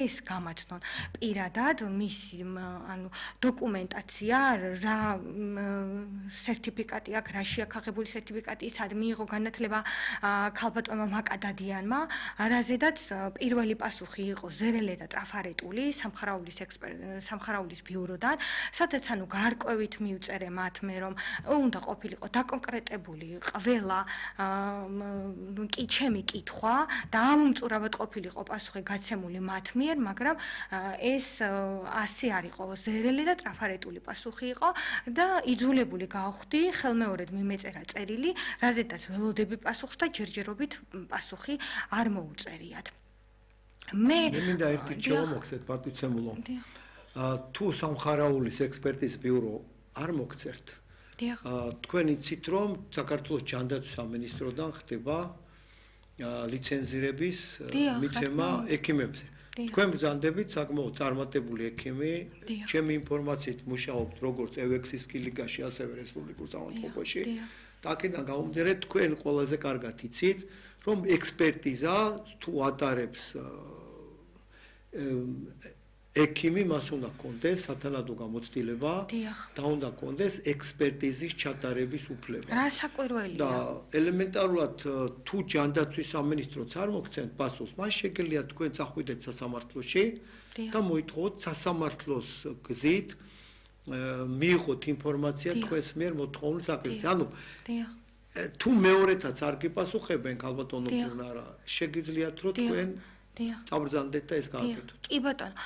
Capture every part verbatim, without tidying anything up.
ეს გამაცნონ პირადად მისი ანუ დოკუმენტაცია რა სერტიფიკატი აქვს რა შეაქაღებული სერტიფიკატი სად მიიღო განათლება ქალბატონმა მაკადადიანმა რაზედაც პირველი პასუხი იყო ზერელე და ტრაფარეტული სამხარაულის სამხარაულის ბიუროდან სადაც ანუ გარკვევით მიუწერე მათ მე რომ უნდა ყოფილიყო დაკონკრეტებული ყველა კი ჩემი კითხვა და ამომწურავად ყოფილიყო პასუხი გაცემული მათ მიერ მაგრამ ეს ასე არ იყო ზერელი და ტრაფარეტული პასუხი იყო და იძულებული გავხდი ხელმეორედ მიმეწერა წერილი რაზედაც ველოდები პასუხს და ჯერჯერობით პასუხი არ მოუწერიათ მე მე მინდა ერთი ჩავამოხსეთ პატიცემულო თუ სამხარაულის ექსპერტის ბიურო არ მოგწერთ თქვენ იცით რომ საქართველოს ჯანდაცვის სამინისტროდან ხდება ლიცენზირების მიცემა ექიმებზე თქვენ ბრძანდებით საკმაოდ წარმატებული ექიმი ჩემი ინფორმაციით მუშაობთ როგორც ევექსის კლინიკაში ასევე რესპუბლიკურ სამართლობაში და აქედან გამომდინარე თქვენ ყველაზე კარგად იცით რომ ექსპერტიზა თუ ატარებს ექიმი მას უნდა კონდეს სათანადო გამოცდილება და უნდა კონდეს ექსპერტიზის ჩატარების უფლება. რა საკვირველია? და ელემენტარულად თუ ჯანდაცვის სამინისტროც არ მოგცემთ პასუხს, მას შეგიძლია თქვენ წახვიდეთ სასამართლოში და მოითხოვოთ სასამართლოს გზით მიიღოთ ინფორმაცია თქვენს მიერ მოთხოვნის საკითხზე. ანუ თუ მეორეთაც არ გიპასუხებენ ქალბატონო გუნარა, შეგიძლიათ რომ თქვენ წაბრძანდეთ და ეს გააკეთოთ. კი ბატონო,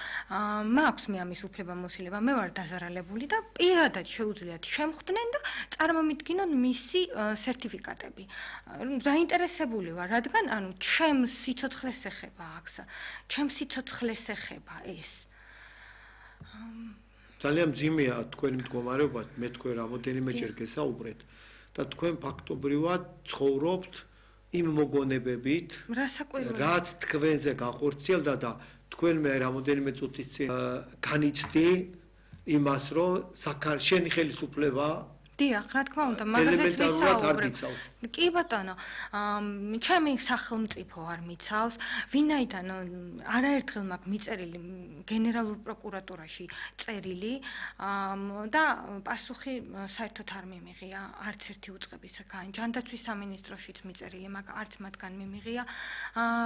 მაქვს მე ამის უფლება მოსილება, მე ვარ დაზარალებული და პირადად შეუძლიათ შემხვდნენ და წარმომიდგინონ მისი სერტიფიკატები. დაინტერესებული ვარ, რადგან ანუ ჩემს სიცოცხლეს ეხება აქ, ჩემს სიცოცხლეს ეხება ეს. ძალიან მძიმეა თქვენი მდგომარეობა, მე თქვენ რამოდენიმეჯერ გესაუბრეთ და თქვენ ფაქტობრივად ცხოვრობთ იმ მოგონებებით, რაც თქვენზე გახორციელდა და თქვენ მე რამოდენიმე წუთის წინ განიცდი იმას, რომ შენი ხელისუფლება დიახ, რა თქმა უნდა, მაგაზეც ვისაუბრებ. კი ბატონო, ჩემი სახელმწიფო არ მიცავს, ვინაიდან არაერთხელ მაქვს მიწერილი გენერალურ პროკურატურაში წერილი და პასუხი საერთოდ არ მიმიღია არც ერთი უწყებისგან. ჯანდაცვის სამინისტროშიც მიწერილი მაქვს, არც მათგან მიმიღია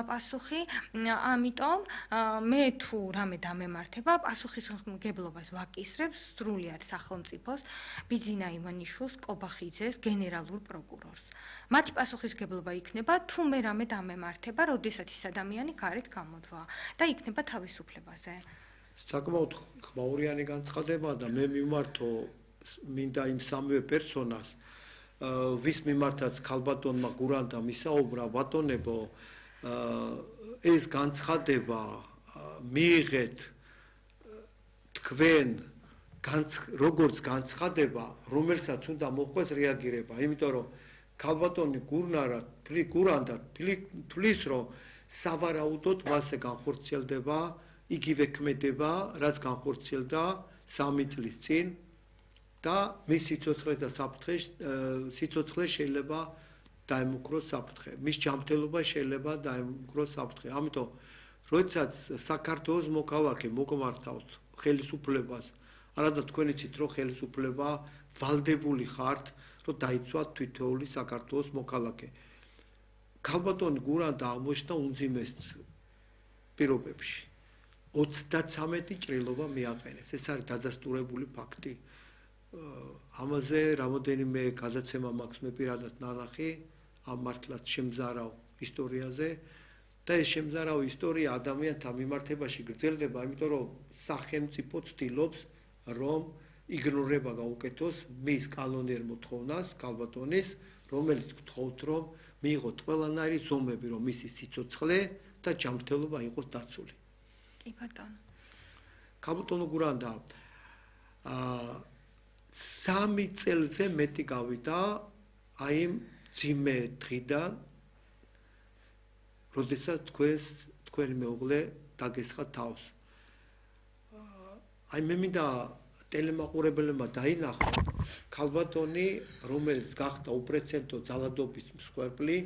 პასუხი. ამიტომ მე თუ რამე დამემართება, პასუხისმგებლობას ვაკისრებ სრულად სახელმწიფოს ბიძინა ივანიშვილს, კობახიძეს, გენერალურ პროკურორს. მათი პასუხისმგებლობა იქნება თუ მე რამე დამემართება, როდესაც ის ადამიანი გარეთ გამოძვა და იქნება თავისუფლებაზე. საკმაოდ ხმაურიანი განცხადება და მე მიმართო მინდა იმ სამივე პერსონას, ვის მიმართაც ქალბატონმა გურანტა მისაუბრა, ბატონებო, ეს განცხადება მიიღეთ თქვენ როგორც განცხადება, რომელსაც უნდა მოხდეს რეაგირება, იმიტომ რომ ქალბატონი გურნარა, გურანტა თვლის, რომ სავარაუდოდ მასზე განხორციელდება იგივე ქმედება, რაც განხორციელდა სამი წლის წინ და მის სიცოცხლეს და საფრთხეს სიცოცხლეს შეიძლება დაემუქროს საფრთხე. მის ჯანმრთელობას შეიძლება დაემუქროს საფრთხე. ამიტომ როდესაც საქართველოს მოქალაქე მოგმართავთ ხელისუფლებას, არადა თქვენ იცით რომ ხელისუფლება ვალდებული ხართ რომ დაიცვათ თითოეული საქართველოს მოქალაქე. ქალბატონი გურანტა აღმოჩნდა უმძიმეს პირობებში. ოცდათრამეტი ჭრილობა მიაყენეს. ეს არის დადასტურებული ფაქტი. ამაზე რამოდენიმე გადაცემა მაქვს მე პირადად ნანახი ამ მართლაც შემზარავ ისტორიაზე და ეს შემზარავ ისტორია ადამიანთა მიმართებაში გრძელდება, იმიტომ რომ სახელმწიფო ცდილობს რომ იგნორება გაუკეთოს მის კანონიერ მოთხოვნას ქალბატონის, რომელიც გთხოვთ რომ მიიღოთ ყველანაირი ზომები, რომ მისი სიცოცხლე და ჯანმრთელობა იყოს დაცული. კი ბატონო. ქალბატონო გურანტა აა სამი წელზე მეტი გავიდა აი იმ ძიმე დღიდან, როდესაც თქვენს თქვენი მეუღლე დაგესხა თავს. აი მე მინდა ტელემაყურებელებმა დაინახო ქალბატონი, რომელიც გახდა უპრეცედენტო ძალადობის მსხვერპლი,